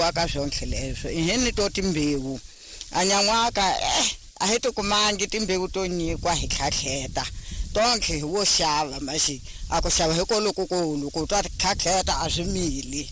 pfuniwa ka swonke leswo i ni to timbewu a nyan'waka a hi tikumangi timbewu to nyikwa hi tlhatlheta tonke hi wo xava maxi a ku xava hi kolokukulu ku twa tlhatlheta a swi mili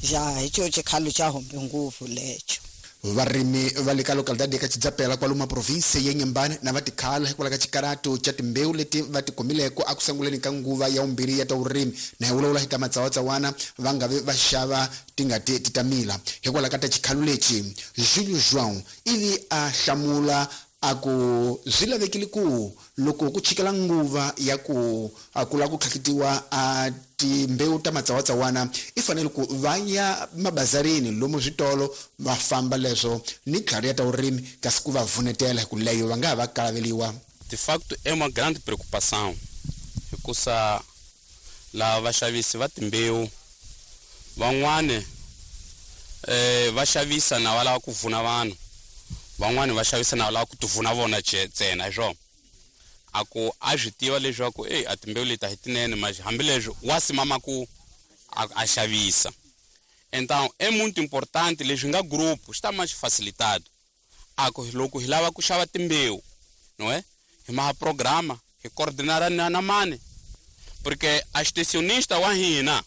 ja hi xo xikhalo xa humbe ngopfu lexo. Varimi va le ka localidade ka Chidzapela kwalomu province ya Inhambane na va tikhala hikwalaho ka xikarato xa timbewu leti va ti kumileko eku sunguleni ka nguva ya vumbirhi ya ta vurimi na hi vulavula hi ta matsawatsawana va nga vi va xava ti nga ti ti ta mila hikwalaho ka ta xikhalo lexi. Julio João ivi a hlamula a ku swi lavekile ku loko ku chikela nguva ya ku a ku lava ku tlhakitiwa a timbewu ta matsawatsawana i fanele ku va ya mabazarini lomu switolo va famba leswo ni tlhari ya ta vurimi kasi ku va vunetela hi ku leyo va nga ha va kalaveliwa. De facto é uma grande preocupação hikusa lava vaxavisi va timbewu van'wani va xavisa na va lava ku vuna vanhu, van'wani va xavisa na va lava ku ti vuna vona ntsena hi swona. A ku a swi tiva leswaku a timbewu leti a hi tinene mas hambileswi wa simama ku a xavisa. Então é muito importante leswi nga grupo xi ta ma xi facilitado a ku loko hi lava ku xava timbewu não é hi maha programa hi coordenar na mani porque a extensionista wa hina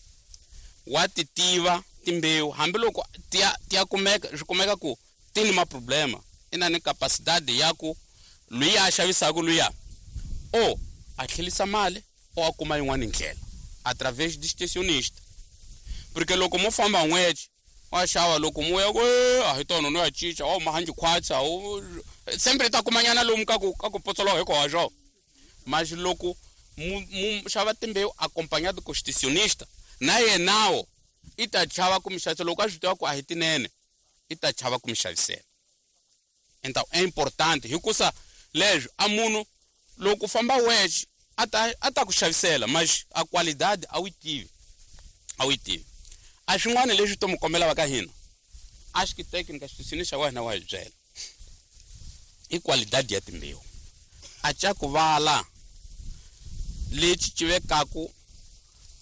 wa ti tiva timbewu hambiloko ti ya kumeka swi kumeka ku ti ni ma problema i na ni capacidade ya ku luya a xavisaka luya o a tlhelisa mali o a kuma yin'wana ndlela através de extensionista porque loko mo famba n'weti wa xava loko mo ya ku a hi tona no ya cinca o mahanji khwatsa o sempre ta kumanyana lomu ka ku potsolowa hikwaswo mas loko mu xava timbewu acompanhado com extensionista na yenawo i ta chava ku mi xavisela loko a swi tiva ku a hi tinene i ta chava ku mi xavisela. Então é importante hikusa leswi a munhu loko famba wexe a ta ku xavisela mas a qualidade a wu tivi a wu tivi. A swin'wana leswi to mu kombela va ka hina a xi técnica xi xa wena wa hi byela i qualidade ya timbewu a ca ku vala lexi ci vekaku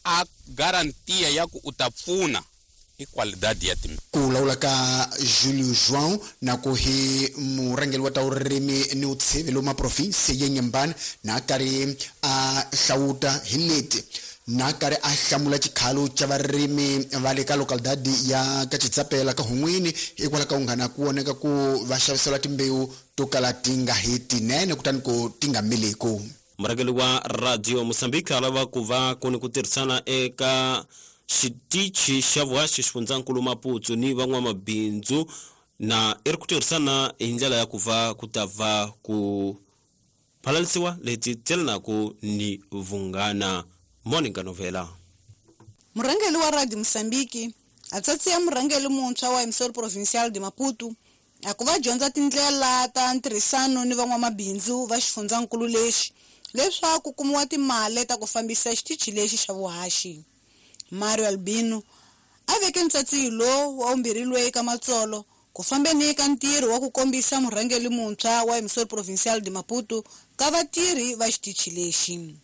a garantia ya ku u ta pfuna i qualidade ya timbewu. Ku lawula ka Julio João na ku hi murhangeri wa ta vurimi ni vutsheve lomu province ya Inhambane na karhi a hlawuta hi leti na karhi a hlamula xikhalo xa varimi va le ka localidade ya ka Chidzapela ka Hun'wini hikwalaho ka unghana ku voneka ku va xavisela timbewu to kala ti nga hi tinene kutani ku ti nga miliku. Murhangeri wa Radio Mozambique a lava ku va ku ni ku tirhisana eka xitichi xa vuhaxi xifundzankulu Maputo ni van'wamabindzu na i ri ku tirhisana hi ndlela ya ku va ku ta va ku phalalisiwa leti telanaku ni vunghana. Monica Novela. Murhangeri wa Radio Mozambique a tsatsiya murhangeri muntshwa wa Emissor Provincial de Maputo a ku va dyondza tindlela ta ntirhisano ni van'wamabindzu va xifundzankulu lexi leswaku kumiwa timali ta ku fambisa xitichi lexi xa vuhaxi. Mario Albino a veke ntsatsiyo lowu wa vumbirhi loyi ka matsolo ku fambeni ka ntirho wa ku kombisa murhangeri muntshwa wa Emissor Provincial de Maputo ka vatirhi va xitichi lexi.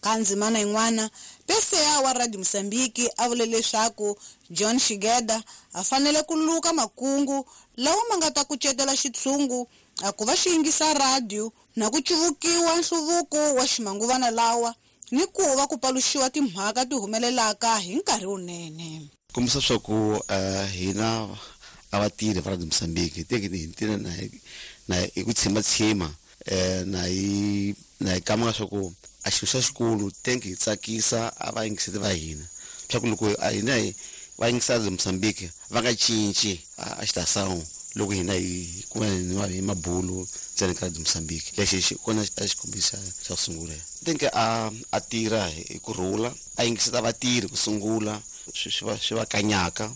Ka ndzimana yin'wana PCA wa Radio Mozambique a vule leswaku John Shigeda a fanele ku luka makungu lawa ma nga ta kucetela xitshungu a ku va xi yingisa radio na ku cuvukiwa nhluvuko wa ximanguvana lawa ni ku va ku paluxiwa timhaka ti humelelaka hi nkarhi wunene. Kombisa swa ku hina a vatirhi va Radio Mozambique teke hi tirha na hi ku tshembatshemba na hi kamaka swa ku a xilo xa xikulu tenke hi tsakisa a va yingiseti va hina swa ku loko a hina hi va yingisa Radio Mozambique va nga cinci a xitasawu loko hina hi kuma hi mabulu ntsena ka Radio Mozambique lexi xi kona a xikombisa xa ku sungula. Tenke a tirha hi ku rhula a yingiseta vatirhi ku sungula swi va kanyaka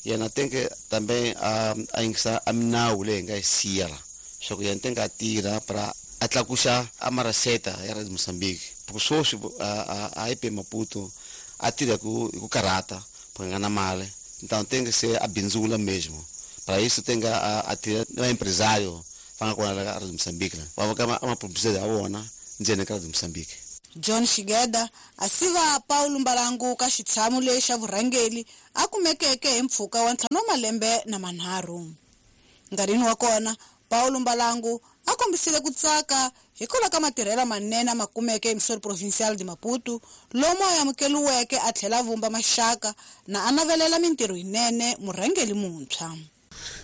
yena tenke tambe a yingisa a minawu leyi hi nga yi siya la swa ku yena tenke a tirha para a tlakuxa a maraseta ya Radio Mozambique ku sweswi a IP Maputo a tirha hi ku karhata ku nga na mali então tenke se a bindzula mesmo para isso tenke a tirha na empresário va nga kona la ka Radio Mozambique la va ka ma publicidade ya vona ndzeni ka Radio Mozambique. John Shigeda a siva Paulo Mbalangu ka xitshamo lexa vurhangeli a kumekeke hi mpfhuka wa 5 wa malembe na manharhu. Nkarhini wa kona Paulo Mbalangu a kombisile ku tsaka hikwalaho ka matirhelo manene ma kumeke emisori provincial de Maputo lomu a amukeliweke a tlhela vumba maxaka na a navelela mintirho yinene murhangeli muntshwa.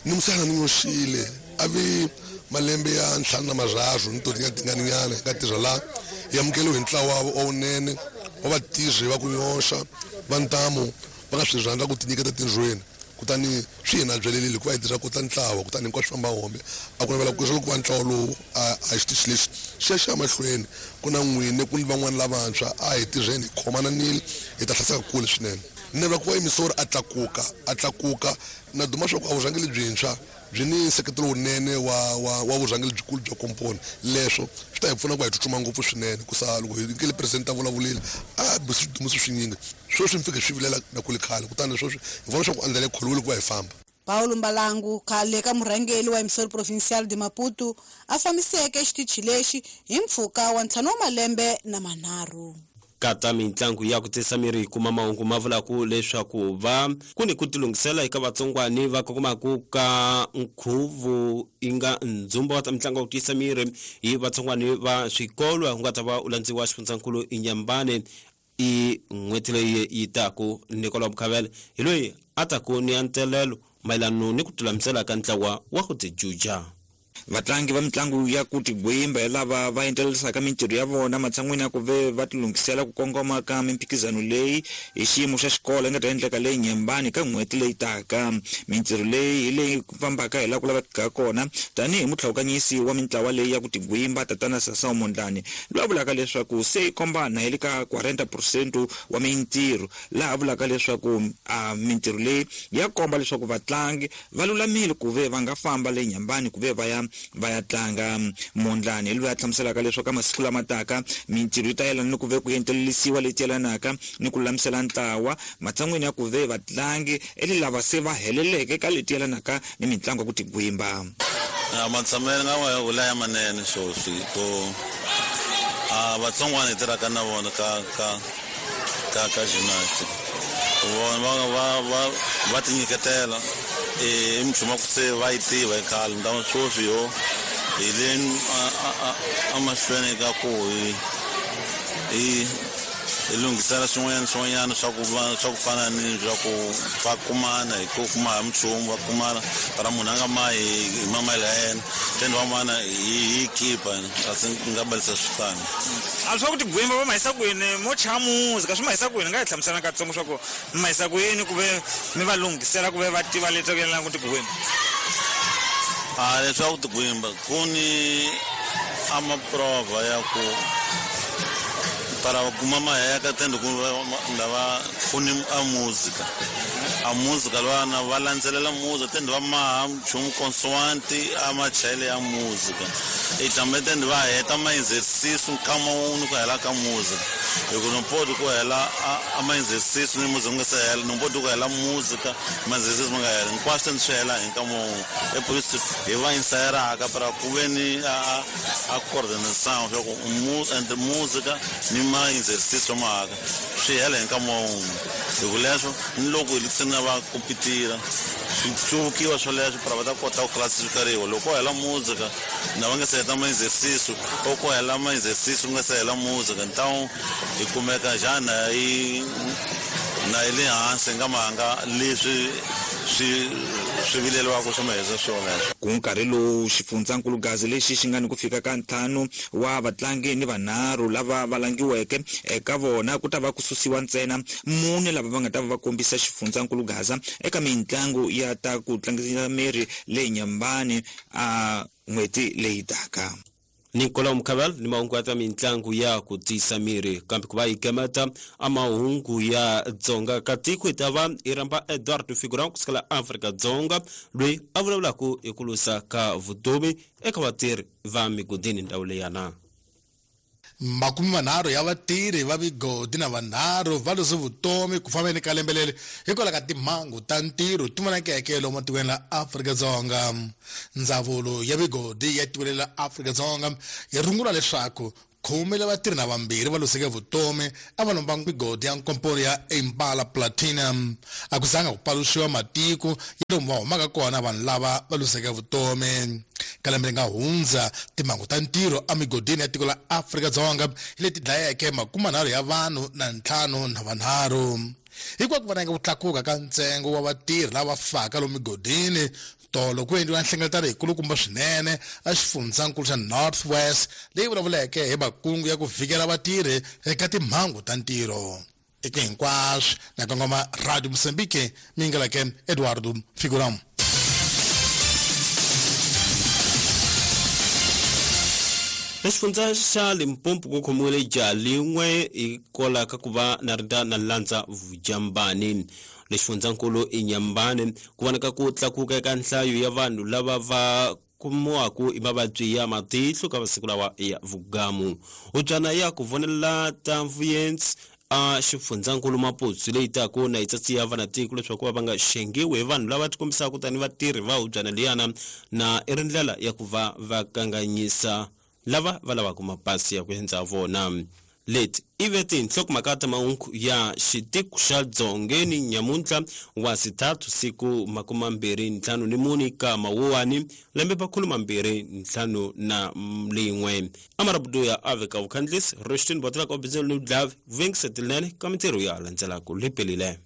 Ni musana ni nyoxile a vi malembe ya 53 ni totingatinganinyana ka tirha la hi amukeliwe hi ntlawa wa wunene wa vatirhi va ku nyoxa va ntamu va nga swi rhandza ku tinyiketa tindlwini kutani swi hina byelelile hikuva hi tirha kota ntlawa kutani hinkwaswo famba hombe a ku navela ku leswaku va ntlawa lowu a xitichi lexi xi ya xi ya mahlweni ku na n'wini ku ni van'wani lavantshwa a hi tirheni hi khomananile hi ta hlaseka kule swinene. Ni navela ku va emisori a tlakuka na duma swa ku a vurhangeri byintshwa byi ni nseketelo wunene wa vurhangeri byikulu bya komponi leswo swi ta hi pfuna ku va hi tsutsuma ngopfu swinene ku sa loko hi nkele president a vulavulile a bisi swidumiso swinyingi sweswi mi fike swi vilela na kule khale kutani sweswi hi vona swa ku andlela yi kholiwile ku va hi famba. Paulo Mbalangu khale ka murhangeri wa emisori provincial de Maputo a fambiseke xitichi lexi hi mpfhuka wa 5 wa malembe na manharhu. Kata mintlangu ya ku tisa miri kuma mahungu ma vulaku leswaku va ku ni ku tilunghisela eka vatsongwani va kokomaku ka nkhuvu inga ndzumba wa ta mitlangu ya ku tisa miri hi vatsongwani va swikolo ku nga ta va u landziwa xifundzankulu Inyambane i n'hweti leyi yi taku. Nicolas Mukhavele hi loyi a taku ni antelelo mayelano ni ku tilulamisela ka ntlawa wa ku tijuja. Vatlangi va mitlangu ya ku tigwimba hi lava va endlelisaka mintirho ya vona matshan'wini ya ku ve va tilunghisela ku kongoma ka mimphikizano leyi hi xiyimo xa xikolo yi nga ta endleka leyi Nyembani ka n'hweti leyi taka. Mintirho leyi hi leyi fambaka hi laha ku lavekaka kona tanihi mutlhawukanyisi wa mintlawa leyi ya ku tigwimba tatana Sasao Mondlane loyi a vulaka leswaku se yi kombana hi le ka 40% wa mintirho, laha a vulaka leswaku a mintirho leyi ya komba leswaku vatlangi va lulamile ku ve va nga famba le Nyembani ku ve va ya tlanga. Mondlane loyi a hlamuselaka leswaku ka masiku lama taka mintirho yi ta yelana ni ku ve ku entelelisiwa leti yelanaka ni ku lulamisela ntlawa matshan'wini ya ku ve vatlangi eli lava se va heleleke ka leti yelanaka ni mitlangu ya ku tigwimba. Matshamelo nga wa vula ya manene sweswi ko a vatsongwana hi tirhaka na vona ka gymnastic vona va tinyiketela i minchumu ku se va yi tiva hi khale ntamu sweswi yo hi le emahlweni ka ku hi lunghisela swin'wanyana swa ku fana ni swa ku va kumana hi ku kuma hi minchumu va kumana para munhu a nga mahi hi mamayela ya yena then van'wana hi keepa a swi nga balisa swifana. A swa ku tigwimba va mahisa kwini mo chaya muzika swi mahisa kwini nga hi hlamusela katsongo swa ku mi mahisa kwini ku ve mi va lunghisela ku ve va tiva leswaku yelana ku tigwimba. A leswaku tigwimba ku ni a maprova ya ku para kuma maheka tende ku lava ku ni a muzika lwana va landzelela muzika tende va maha nchumu consoante a machayele ya muzika i tlambe tende va heta ma-exercice nkama wun'we ku hela ka muzika hi ku nompoti ku hela a ma-exercice ni muzika nga se hela nompoti ku hela muzika ma-exercice ma nga hela hinkwaswo tende swi hela hi nkama wun'we epolisi hi va insayeraka para ku ve ni a coordination swa ku entre muzika ni ma-exercice mahaka swi hela hi nkama wun'we hi ku leswo ni loko hi se na va kompitira swi hluvukiwa swoleswo para va ta kota ku classifikariwa loko ko hela muzika na va nga se heta ma-exercice o ko hela ma-exercice ku nga se hela muzika ntawu hi kumeka xana na yi le hansi nga mahanga leswi swi vileliwaka swa mahisa swona. Ku nkarhi lowu xifundzankulu gazi lexi xi nga ni ku fika ka 5 wa vatlangi ni vanharhu lava va langiweke eka vona ku ta va ku susiwa ntsena mune lava va nga ta va va kombisa xifundzankulu gaza eka mitlangu ya ta ku tlangisa miri leyi Nyambani a n'hweti leyi taka. Nicolas Mukhavele ni mahungu ya ta mitlangu ya ku tisa miri kambe ku va hi gemeta a mahungu ya Dzonga ka tiko hi ta va hi rhamba Eduardo Figueroa kusukela Afrika-Dzonga loyi a vulavulaka hi ku lwisa ka vutomi eka vatirhi va migodini ndhawu leyana. 30 ya vatirhi va migodi na vanharhu va lose vutomi ku fambeni ka lembe leri hikwalaho ka timhangu ta ntirho ti vonakeke lomu tikweni la Afrika-Dzonga. Ndzawulo ya migodi ya tikweni la Afrika-Dzonga yi rungula leswaku Khume la vatirhi na vambirhi va loseke vutomi a va lomba migodi ya nkomponi ya Impala Platinum. A ku zanga ku paluxiwa matiko ya lomu va humaka kona vanhu lava va loseke vutomi. Ka lembe leri nga hundza, timhangu ta ntirho emigodini ya tiko la Afrika-Dzonga hi leti dlayeke 30 ya vanhu na 53. Hikwalaho ku vonaka ku tlakuka ka ntsengo wa vatirhi lava faka lomu migodini, tolo ku endliwa nhlengeletano yikulukumba swinene exifundzankulu xa North West leyi vulavuleke hi makungu ya ku vhikela vatirhi eka timhangu ta ntirho. Eka hinkwaswo na kongoma Radio Mozambique, mi yingeleke Eduardo Figuram. Exifundza xa Limpopo ku khomiwile jaha lin'we hikwalaho ka ku va na rinda na landza vujambani. Lexifundzankulu i Nyambane ku vonaka ku tlakuka eka nhlayo ya vanhu lava va kumiwaku hi mavabyi ya matihlo ka masiku lawa ya vugamu. Hubyana ya ku vonelela ta vuyensi a xifundzankulu Maputo leyi taku na yi tsatsiya vanatiko leswaku va nga xengiwi hi vanhu lava tikombisaka tani vatirhi va hubyana liyana, na i ri ndlela ya ku va va kanganyisa lava va lavaka mapasi ya ku endza vona. Leti i ve tinhlokomhaka ta mahungu ya xitiko xa Dzongeni nyamuntlha wa sithathu siku 24 ka Mawuwani lembe 2051. Amarabudu ya aveka vukhandlisi Rostin Botlaka obizelo ni udlavi vuvengisa tinene ka mintirho ya landzelaka lipelile.